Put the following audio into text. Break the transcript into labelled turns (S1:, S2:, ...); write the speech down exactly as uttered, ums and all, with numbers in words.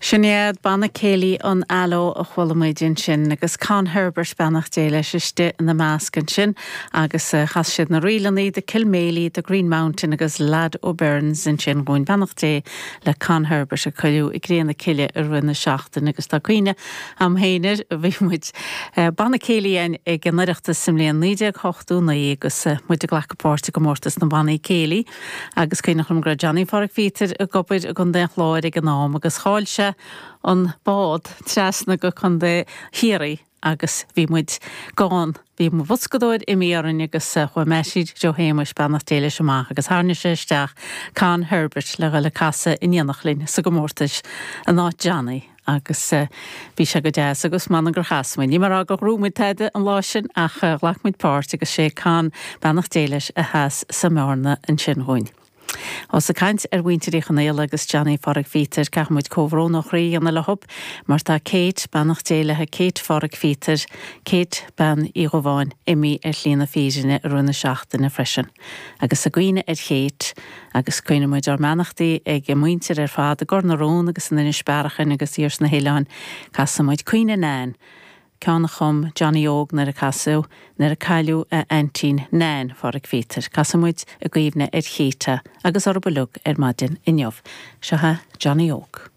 S1: Sin iad Banna Céilí an Aló a chuala muid ansin agus Con Herbert beannacht Dé leis istigh ina measc ansin agus uh, chas siad na ríleanna The Kilmaley, The Green Mountain agus Lad O'Byrne's ansin dhúinn beannacht Dé le Con Herbert a cailleadh i gCré na Cille i rith na seachtaine agus tá cuimhne agam féin air bhí muid uh, Banna Céilí ag an Oireachtas sa mbliain naoi déag ochtó naoi agus uh, muid ag glacadh páirt i gcomórtas na mbannaí céilí agus cuimhin liom go raibh Johnny Phádraic Phíotair ag obair i gContae an Chláir ag an am agus chaill sé an bád trasna go Contae Chiarraí agus bhí muid gan bhí mo bhoscadóir imithe orainn agus chuaigh Mattie Joe Shéamuis beannacht Dé leis amach agus tharraing sé isteach Con Herbert le le casadh in éineacht linn sa gcomórtas in áit Johnny agus bhí sé go deas agus man gur chas muid. Ní mar go raibh muid tada an lá sin ach ghlac muid páirt agus sé Con beannacht Dé leis a chas sa mbearna ansin dhúinn. Ós ag caint ar mhuintir Uí Chonaola agus Johnny Phádraic Phíotair caithfimid comhbhrón ó chroí a dhéanamh leo mar tá Kate beannacht Dé léi Kate Phádraic Phíotair, Kate bean Uí Dhubháin imithe ar shlí na fírinne i rith na seachtaine freisin. Agus i gcuimhne ar Kate agus cuirimid ár mbeannachtaí ag a muintir ar fad i gCor na Rón agus in Inis Bearachain agus thiar sna hoileáin casaimid Cuimhne Nan. Ceann a chum Johnny Óg nuair a casadh nuair a cailleadh a aintín Nan Phádraic Phíotair. Casaimid i gcuimhne ar Kate agus oraibh uilig ar maidin inniu. Seo Johnny Óg.